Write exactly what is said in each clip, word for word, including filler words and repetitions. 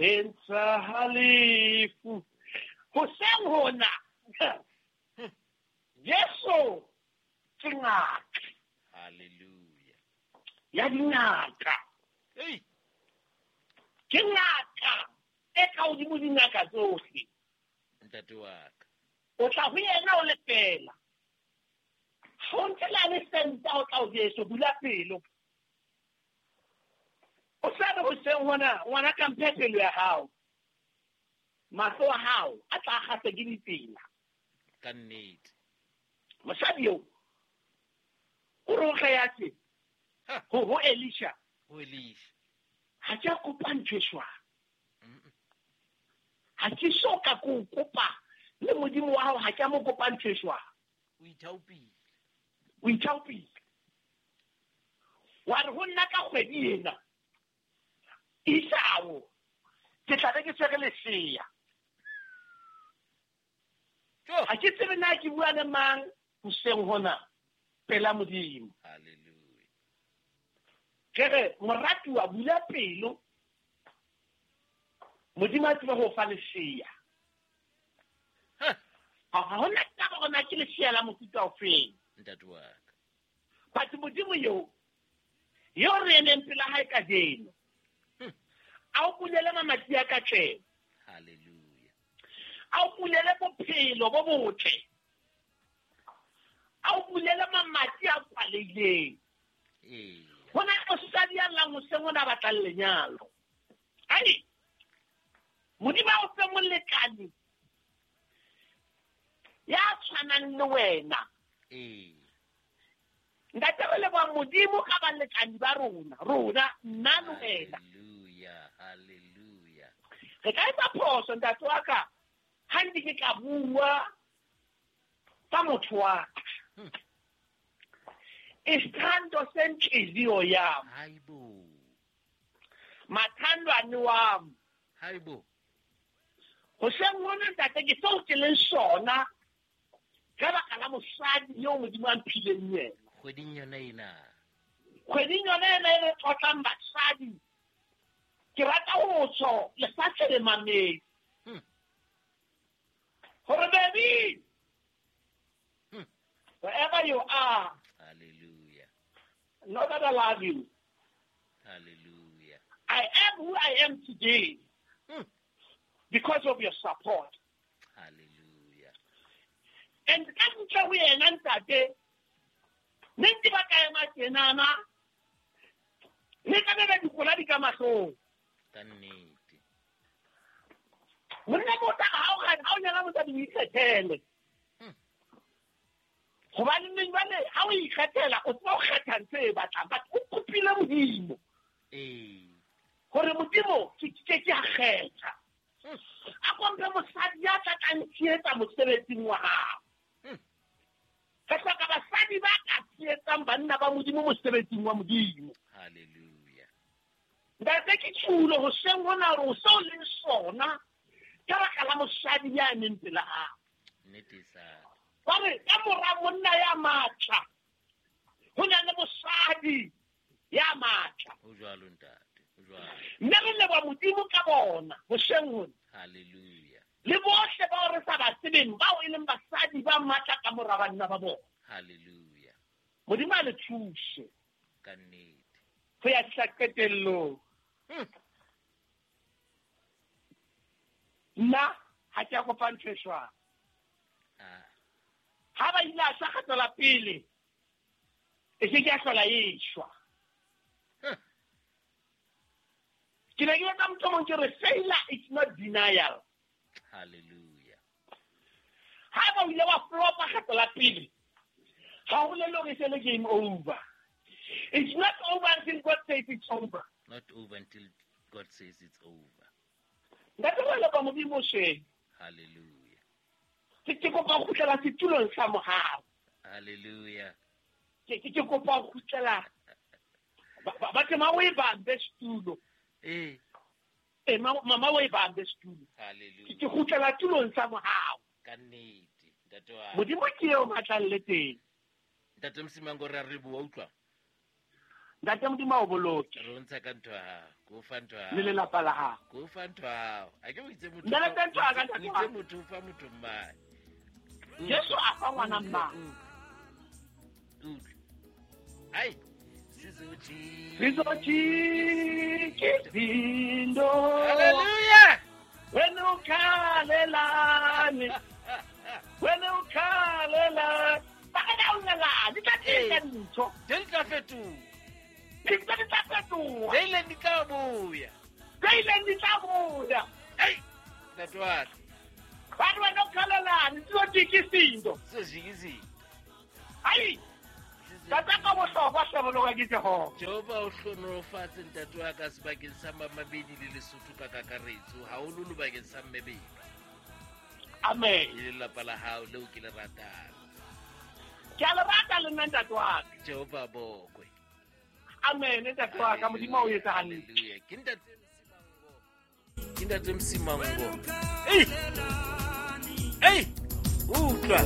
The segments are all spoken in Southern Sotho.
Le ntsha lefu. Hoseng hona Jesu ke ngaka. Hallelujah. Ya dingaka. Hey. Ke ngaka e ka hodimo dingaka tsohle. Ntate wa ka. O tla ho yena o le fela. Ha o ntse la le senta o tla o Jesu bula pelo. O sa re hoseng hona ngwana ka mphe pelo ya hao. Mahlo a hao a tla kgahlwa ke ditsela. Ka nnete. Mosadi eo o re o kgeyatse ho ho Elisha. Ho Elisha. Ha ke a kopa ntho e jwalo. Ha ke so ka ko kopa le Modimo wa hao, ha ke a mo kopa ntho e jwalo. O ithaopile. O ithaopile. Wa re ho nna ka kgwedi ena Isao ke tla be ke tshwere lesea. Ha ke tsebe na ke bua le mang hoseng hona pela Modimo. Hallelujah. Ke re moratuwa bula pelo, Modimo a tsebe ho fa lesea. Ha hona taba hore na ke lesea la mofuta ofeng. Ntate wa ka. But Modimo eo eo re emeng pela hae kajeno, a o bulele mamati a katleho. Hallelujah. A o bulele bophelo bo botle. A o bulele mamati a kwalehileng. Ee. Hona mosadi ya llang hoseng hona batlang lenyalo. Ai. Modimo a o fe molekane ya tshwanang le wena. Ee. Ntate re leboha Modimo ka balekane ba rona, rona nna le wena. Hallelujah, hallelujah. Re ka etsa phoso ntate wa ka ha nke ke ka bua ka motho wa ka. Isithando senhliziyo yami. Hayibo. Mathandwane wami. Hayibo. Hoseng hona ntate ke seo ke leng sona ka baka la mosadi eo Modimo a mphileng yena. Kgweding yona ena. Kgweding yona ena e re tlotlang basadi. Ke rata ho tsho lefatshe le mamedi. Hore baby, wherever you are, hallelujah, know that I love you. Hallelujah. I am who I am today hmm. because of your support. Hallelujah. And ka ntle ho yena ntate, ne ntse ba ka ema tjenana, ne ka beba dikola di ka mahlong. Ka nnete. Monna motho ha o ha o nyala mosadi o ikgethele. Hobane neng jwale ha o ikgethela o tseba ho kgetha ntho e batlang, but o kopile Modimo. Ee. Hore Modimo ke ke ke a kgetha. A komphe mosadi ya tla tla ntshehetsa mosebetsing wa hao. Re hloka basadi ba ka tshehetsang banna ba Modimo mosebetsing wa Modimo. Hallelujah. Ntate ke tjhulo hoseng hona hore o seo leng sona ka baka la mosadi ya emeng pela hao. Nnete sa. Ba re ka mora monna ya matla ho na le mosadi ya matla. Ho jwalo ntate, ho jwalo. Mme re leboha Modimo ka bona hoseng hona. Hallelujah. Le bohle bao re sa ba tsebeng bao e leng basadi ba matla ka mora banna ba bona. Hallelujah. Modimo a le thuse. Ka nnete. Ho ya fihla qetellong. Nna ha ke a kopa ntho e jwalo. Ah. Ha ba ile a shwa kgetlo la pele, e ke ke a hlola e shwa. Ke ne ke etsa motho o mong ke re failure is not denial. Hallelujah. Ha ba o ile wa flopa kgetlo la pele, ha ho bolele hore e se le game over. It's not over until God says it's over. Not over until God says it's over. Ntate re leboha Modimo sheng. Hallelujah. Ke ke kopa ho kgutlela setulong sa mohau. Hallelujah. Ke ke ke kopa ho kgutlela ba ba ke ma o e bambe setulo. Eh. Eh mama o e bambe setulo. Hallelujah. Ke ke kgutlela tulong sa mohau. Ka nnete ntate wa. Modimo ke eo matlang le teng. Ntate Msimango re a re bua utlwa. Ntate Modimo o boloke. Re o ntsha ka ntho ya hao. Ke o fa ntho ya hao. Le lelapa la hao. Ke o fa ntho ya hao. A ke o itse motho. Ntate ntho ya ka ntate. O itse motho o fa motho mmae. Jesu a fa ngwana mmae. Utlwa. Ai. Sizoji. Sizoji izinto. Hallelujah. Wena ukhalelani. Wena ukhalelani. Ba ka daunela, di tla tla ntho. Di tla fetoha. Di tla di tla fetoha. Di ile di tla boya. Di ile di tla boya. Ei, ntate wa ka. Ba re wena ukhalelani, sizoji izinto. Sizoji izinto. Ai. Tata ka bohlokwa hlaboloka ke Jehova. Jehova o hlonolofatse ntate wa ka sebakeng sa Mamabedi le Lesotho ka kakaretso, haholoholo bakeng sa Mmebedi. Amen. Le lelapa la hao leo ke le ratang. Ke a le rata le nna ntate wa ka. Jehova bokwe. Amen ntate wa ka, Modimo o etsa hantle. Hallelujah. Ke ntate Msimango. Ke ntate Msimango. Ei. Ei, utlwa.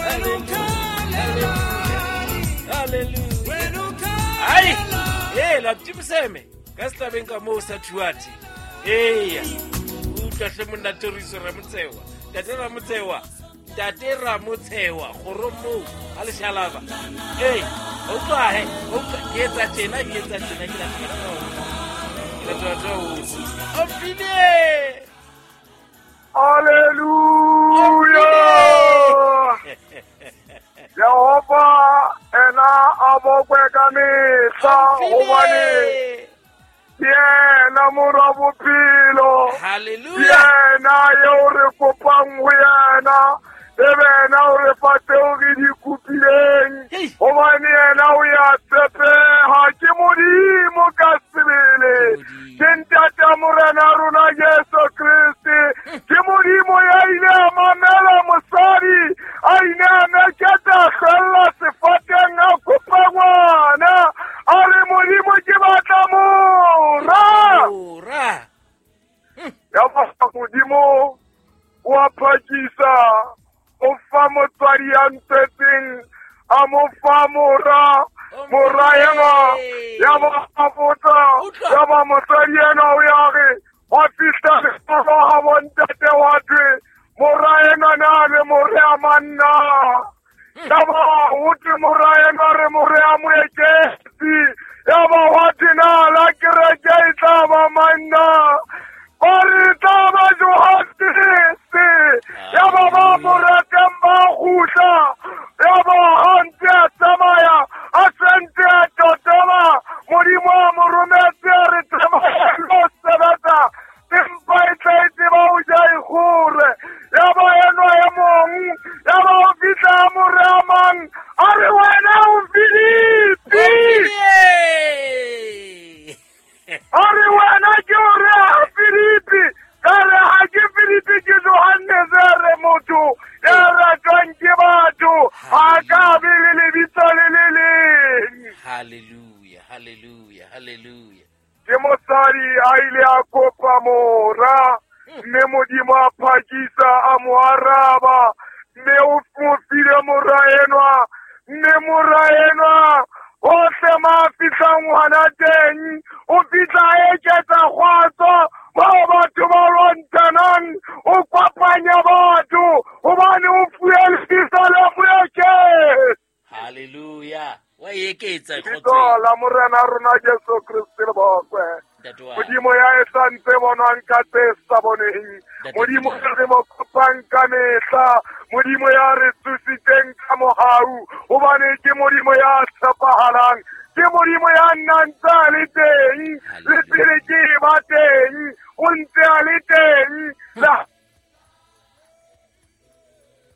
Hallelujah. Ai, eh la tibiseme ka setlabeng ka moo sa thuati. Eya. Utlwa hle monna Toriso Ramotsewa. Ntate Ramotsewa. Ntate Ramotsewa kgorong moo a leshalaba. Ei, utlwa he, utlwa ke etsa tjena, ke etsa tjena ke la tjena. Ke la tjena. Ofile. Hallelujah. Jehova ena a bokwe ka mehla hobane ke yena mora bophelo. Hallelujah. Ke yena eo re kopang ho yena, ebe yena o re fa tseo re di kopileng, hobane yena o ya tshepeha. Ke Modimo ka sebele, ke ntate Morena rona Jesu Kriste. Ke Modimo ya ile a mamela mosadi, a ile a meketa hlwella sefateng a kopa ngwana, a re Modimo ke batla mora. Mora. Ya ba Modimo o a phakisa, o fa motswadi ya ntswetseng, a mo fa mora. Mora enwa ya ba botsa, ya ba motswadi enwa o ya re wa fihla sekolo ha bontate wa thwe mora enwa na le more a manna. Ya ba ho thwe mora enwa re more a moeketsi. Ya ba wa thwe na la kereke e tla ba manna. Ba re tla ba Johannes. Ya ba ba mo ratang ba kgutla. Ya ba ha ntse a tsamaya, a sentse a totoma, Modimo a mo rometse a re tsamaya lo sebetsa, empa e tla e tseba ho ja e kgore. Ya ba enwa e mong, ya ba o fihla a mo re a mang, a re wena o Filipi. A re wena ke o re a Filipi. Ka re ha ke Filipi ke Johannes, a re motho ya ratwang ke batho ha ka be le lebitso le le leng. Hallelujah, hallelujah, hallelujah. Ke mosadi a ile a kopa mora, mme Modimo a phakisa a mo araba, mme o mo file mora enwa, mme mora enwa hohle ma fihlang hona teng, o fihla a eketsa kgotso bao batho ba lwantshanang, o kopanya batho hobane o fuwe lebitso la moeketsi. Hallelujah. Wa eketsa kgotso la Morena rona Jesu Kriste le bokwe. Modimo ya e santse bonwang ka tse sa boneng, Modimo re mo kopang ka mehla, Modimo ya re tsositseng ka mohau, hobane ke Modimo ya tshepahalang, ke Modimo ya nnang ntse a le teng, le pele ke ba teng, o ntse a le teng. La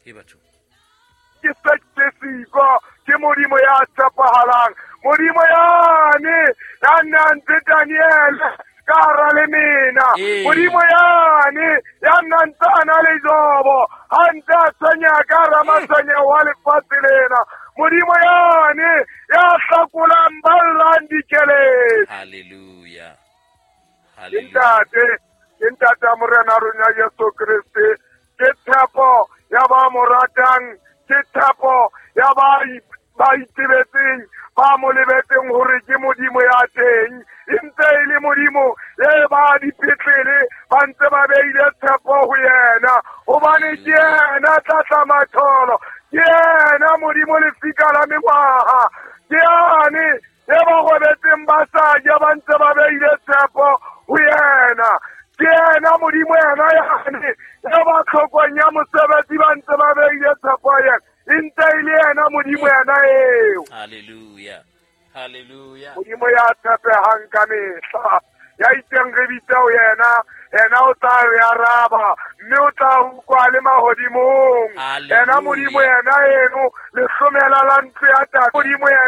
ke batho ke se ke siko, ke Modimo ya tshepahalang, Modimo yane ya nnang ntse Daniel ka hara lemena, Modimo yane ya nnang ntse a na le Jobo ha ntse a tshwenya ka hara matshwenyeho wa lefatshe lena, Modimo yane ya hlakolang ba llang dikeledi. Hallelujah. Ke ntate, ke ntate ya Morena rona Jesu Kriste, ke tshepo ya ba mo ratang, ke tshepo ya ba ba itebetseng ba mo lebetseng hore ke Modimo ya teng. E ntse e le Modimo e ba dipetlele ba ntse ba beile tshepo ho yena, hobane ke yena tlatla-matholo, ke yena Modimo lefika la mengwaha, ke yane e ba robetseng ba sa ja ba ntse ba beile tshepo ho yena. Ke yena Modimo yena yane e ba tlhokong ya mosebetsi ba ntse ba beile tshepo ho yena. E ntse e le yena Modimo yena eo. Hallelujah. Hallelujah. Modimo ya tshepehang ka mehla, ya itseng re bitse ho yena, yena o tla re araba, mme o tla utlwa le mahodimong. Yena Modimo yena eno, lehlomela la ntlo ya Tate. Modimo yena